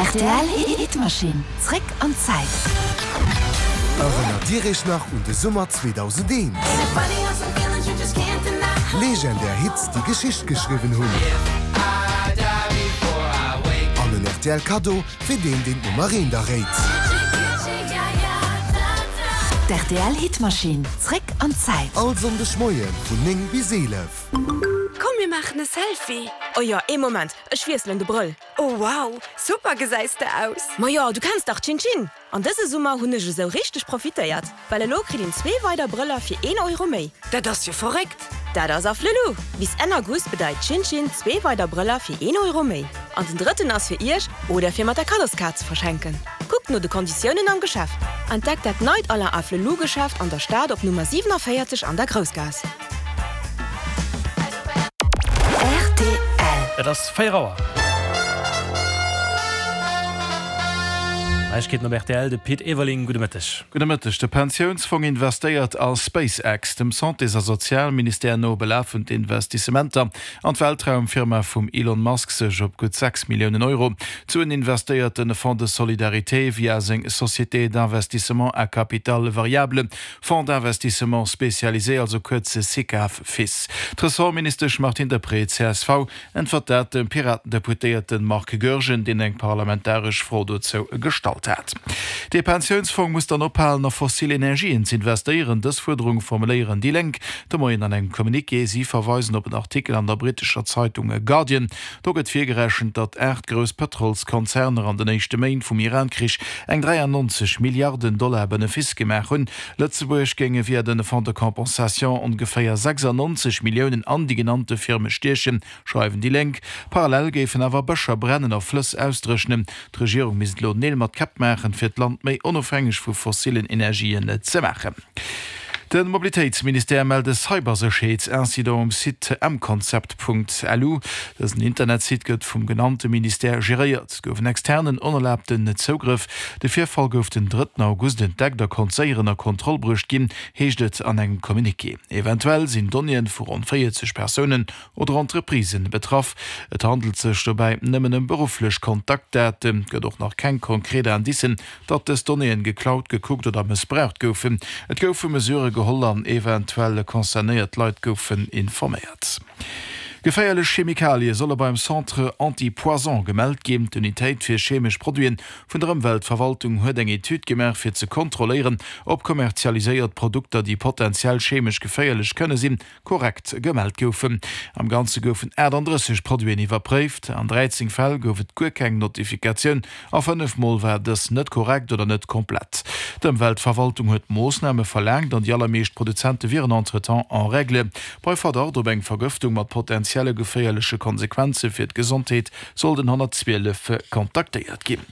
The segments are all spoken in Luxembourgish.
Rtl Hitmachine, zréck an d'Zäit. Erënnert Dir Iech nach un de Summer 2001? Legendär Hits, déi Geschicht geschriwwen hunn. An en rtl Kaddo fir deen, deen d'Nummer eent erréit. D'RTL Hitmachine, zréck an d'Zäit. All Sonndeg Moie vun 9 bis 11. Komm mir maachen e Selfie! Oh jo, ee Moment, ech wiesselen de Brëll. Oh wow, super gesäis de aus! Majo, du kenns dach Chin Chin! An dëse Summer hunn ech esou richteg profitéiert, well elo kritt een zwee weider Brëller fir een Euro méi. Dat ass jo verréckt! Dat ass Afflelou! Bis Enn August bedeit Chin Chin zwee weider Brëller fir een Euro méi. An den drëtten ass fir iech oder fir mat der Kaddoskaart ze verschenken. Kuckt no de Konditiounen am Geschäft. Entdeckt dat neit Alain Afflelou Geschäft an der Stad op Nummer 47 an der Groussgaass. Rtl. Et ass 4 Auer. Neiegkeeten op rtl, de Pit Everling, gudde Mëtteg. Gudde Mëtteg. De Pensiounsfong investéiert a SpaceX. Dem Santés a Sozialministère no belafen d'Investissementer an d'Weltraumfirma vum Elon Musk sech op gutt 6 Milliounen Euro. D'Suen investéiert de Fonds de solidarité via seng Société d'investissement à capital variable. Fonds d'investissement spécialisé, also kuerz Sicaf-Fis. D'Ressortministesch Martine Deprez, csv, äntwert dat dem Piraten-Deputéierte Marc Goergen, deen eng parlamentaresch Fro dozou gestallt hat. Dee Pensiounsfong muss dann ophalen a fossil Energien z'investéieren. Dës Fuerderung formuléieren déi Lénk de Moien an engem Communiqué. Si verweisen op en Artikel an der brittescher Zeitung Guardian. Do gëtt virgerechent, datt 8 grouss Pëtrolskonzerner an den éischte Méint vum Iran-Krich eng 93 Milliarden Dollar Benefice gemaach hunn. Lëtzebuerg géinge via de Fonds de compensation ongeféier 96 Milliounen an déi genannte Firme stiechen, schreiwen déi Lénk. Parallel géifen awer Bëscher brennen a Flëss ausdréchnen. D'Regierung misst elo Neel mat Käpp maachen, fir d'Land méi onofhängeg vu fossillen Energien ze maachen. De Mobilitéitsministère mellt e Cybersécherheetsincident um Site mconcept.lu. Dësen Internetsite gëtt vum genannte Ministère geréiert. Et gouf en externen onerlaabten Zougrëff. De Virfall gouf den drëtten August entdeckt a konnt séier ënner Kontroll bruecht ginn, heescht et an engem Communiqué. Eventuell sinn Donnéeë vu ronn 40 Persounen oder Entreprisen betraff. Et handelt sech dobäi nëmmen ëm berufflech Kontaktdaten. Et gëtt och nach keng konkret Indicen, datt dës Donnéeën geklaut, gekuckt oder mëssbraucht goufen. Et goufe Mesurë geholl an eventuell concernéiert Leit goufen informéiert. Geféierlech Chemikalie solle beim Centre Anti-Poison gemellt ginn. D'Unitéit fir chemesch Produiten vun der Ëmweltverwaltung huet eng Etüd gemaach, fir ze kontrolléieren, ob kommerzialiséiert Produkter, déi potenziell chemesch geféierlech kënne sinn, korrekt gemellt goufen. Am Ganze goufen 38 Produiten iwwerpréift. An 13 Fäll gouf et guer keng Notifikatioun a 5 Mol war dës net korrekt oder net komplett. D'Ëmweltverwaltung huet Moossname verlaangt an déi allermeescht Produzente wieren entretemps en règle. Bei Verdacht op eng Vergëftung mat potentielle geféierleche Konsequenze fir d'Gesondheet soll den 112 kontaktéiert ginn.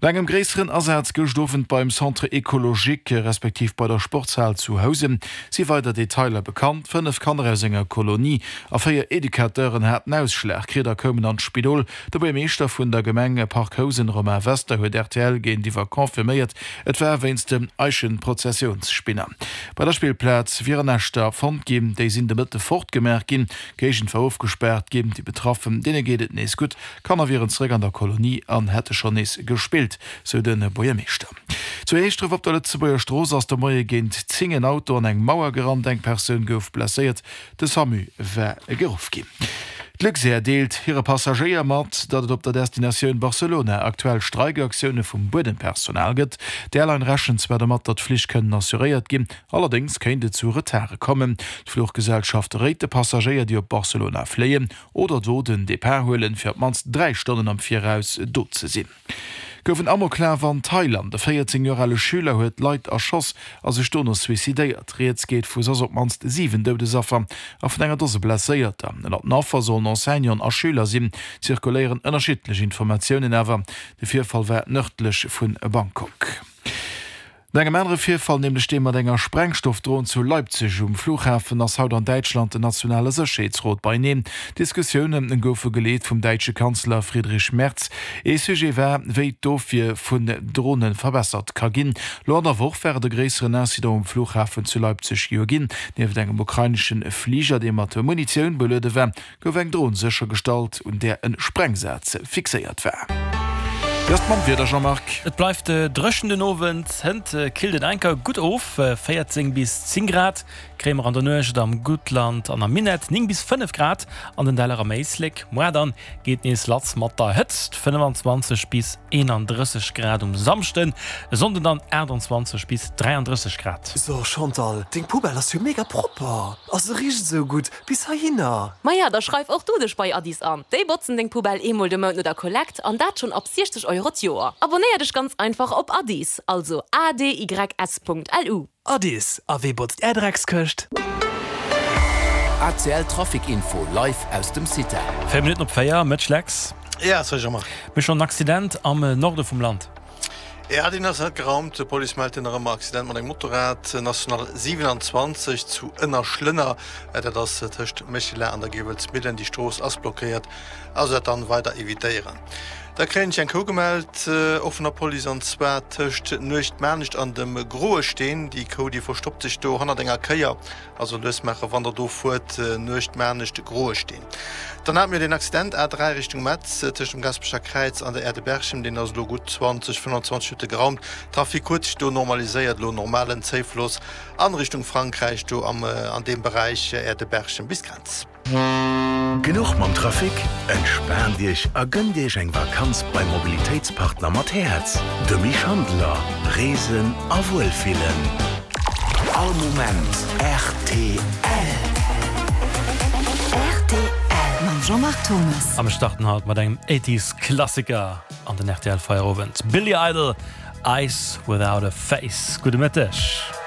No engem gréisseren Asaz gëscht Owend beim Centre Ecologique, respektiv bei der Sportshal zu Housen, si weider Detailer bekannt. 5 Kanner aus enger Kolonie a 4 Educateuren haten Ausschlag kritt a koumen an d'Spidol. De Buermeeschter vun der Gemeng Parc Housen, Romain Wester, huet rtl géintiwwer confirméiert, et war wéinst dem Eichenprozessionsspinner. Bei der Spillplaz wieren Näschter fonnt ginn, déi sinn de Mëtte fortgemaach ginn. D'Géigend war ofgespaart ginn. Déi Betraffen, deene geet et nees gutt. D'Kanner wieren zeréck an der Kolonie an hätte schonn nees gespillt, sou de Buergermeeschter. Zu Heeschdref op der Lëtzebuerger Strooss ass de Moie géint 10 en Auto an eng Mauer gerannt. Eng Persoun gouf blesséiert, de Samu war geruff ginn. D'Luxair deelt hire Passagéier mat, datt et op der Destinatioun Barcelona aktuell Streikaktioune vum Buedempersonal gëtt. D'Airline rechent zwar domat, datt d'Flich kënnen assuréiert ginn, allerdéngs kéint et zu Retarde kommen. D'Fluchgesellschaft réit de Passagéier, déi op Barcelona fléien, Oder do den Depart huelen, fir op d'mannst 3 Stonnen am Viraus do ze sinn. Gouf en Amoklaf an Thailand. E 14 Joer ale Schüler huet Leit erschoss a sech dono suicidéiert. Rieds geet vu soss op d'mannst 7 Doudesaffer a vun enger Dose Blesséierter. Ënner den Affer sollen Enseignanten a Schüler sinn. Zirkuléieren ënnerschiddlech Informatiounen, awer de Virfall war nërdlech vu Bangkok. No engem anere Virfall, nämlech deem mat enger Sprengstoffdron zu Leipzig um Flughafen, ass haut an Däitschland den nationale Sécherheetsrot beieneen. D'Diskussioune goufe geleet vum däitsche Kanzler Friedrich Merz. Ee Sujet war, wéi d'Ofwier vun Drone verbessert ka ginn. Lo an der Woch war et e gréisseren Incident um Flughafen zu Leipzig jo ginn. Nieft engem ukrainesche Fliger, dee mat Munitioun beluede war, gouf eng Dron séchergestallt, un där e Sprengsaz fixéiert war. Wéi ass et mam Wieder, Jean-Marc? Et bleift dréchen den Owend, hënt killt et enker gutt of, 14 bis 10 Grad kréie mer an der Nuecht am Guttland an am Minett, 9 bis 5 Grad an den Däller am Éislek. Moar dann geet nees lass mat der Hëtzt, 25 bis 31 Grad um Samschden, e Sonnden dann 28 bis 33 Grad. So Chantal, deng Poubelle ass jo mega propper a se richt esou gutt bis heihinner. Maja, da schreif och du dech bei Addis an. Déi botzen deng Poubelle eemol de Mount no der Kollekt an dat schonn ab 60 Euro d'Joer. Abonéier dech ganz einfach op Addis, also adys.lu. Addis, a wee botzt är Dreckskëscht? ACL Trafic Info live aus dem CITEL. 4 Minutten op 4, Mëtsch Lex. Ja, salut Jean-Marc. Mir schonn en Accident am Norde vum Land. Ja, deen ass net geraumt. D'Police mellt nach ëmmer Accident mat engem Motorrad, National 27 zu Ënnerschlënner. Dat ass tëscht Méchela an der Giewelsmillen. Déi Strooss ass blockéiert, also dat dann weider evitéieren. Da kréien ech eng Kou gemellt, och vun der Police, an zwar tëscht Nuechtmanescht an dem Groe Steen. Déi Kou, déi verstoppt sech do hannert enger Kéier. Also lues maachen wann der do fuert, Nuechtmaarnescht, Groesteen. Dann hate mir deen Accident A3 Richtung Metz tëscht dem Gaspecher Kräiz an der Aire de Berchem, deen ass elo gutt 20, 25 Minutte geraumt. Trafic huet sech do normaliséiert, elo normalen Zéifloss an Richtung Frankräich do am an deem Beräich Aire de Berchem bis Grenz. Genuch mam Trafic? Entspaant Iech a gënnt Iech eng Vakanz beim Mobilitéitspartner mat Häerz, de Mich Handeler. Reesen a Wuelfillen. All Moment rtl. Rtl mam Jean-Marc Thomas. A mir starten haut mat engem Eighties Klassiker an den rtl Feierowend. Billy Idol, Eyes Without a Face. Gudde Mëtteg.